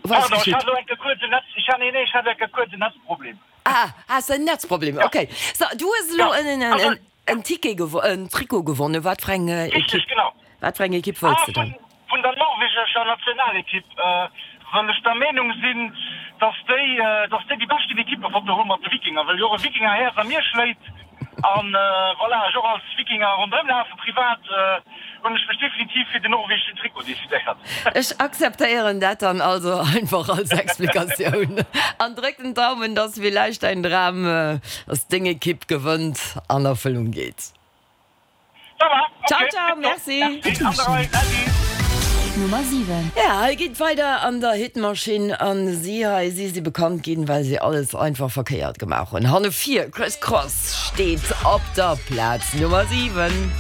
Was Pardon, ech hat elo enke kuerz en Netz, ech hat, nee, nee, ech hat enke kuerz en Netzproblem. Ah, has de en Netzproblem? Ok. So, du hues elo en, en, en, en Ticket gewo, en Trikot gewonnen. Wat fir eng Ekipp, genau. wat fir eng Ekipp wëlls de dann? Vun der norwegescher Nationalekipp, well ech der Meenung sinn, dass déi, dass déi déi beschten Ekippefoto hu mat de Wikinger, well jo och e Wikingerhäerz a mir schléit. An voilà, ech och als Wikinger ronderëm lafen privat, hunn ech mech definitiv fir den norwegeschen Trikot decidéiert. Ech akzeptéieren dat dann also einfach als Explikatioun an dréck den Daumen, dass villäicht däin Dram, dass deng Ekipp gewënnt, an Erfëllung geet. Ça va, ok, Ciao ciao, merci. Merci, an der Rei, Äddi. Nummer 7. Ja, hei geet weider an der Hitmaschinn an si hei, si si bekannt ginn, well si alles einfach verkéiert gemaach hunn. Hanne vir, Criss Cross steet op der Plaz Nummer 7.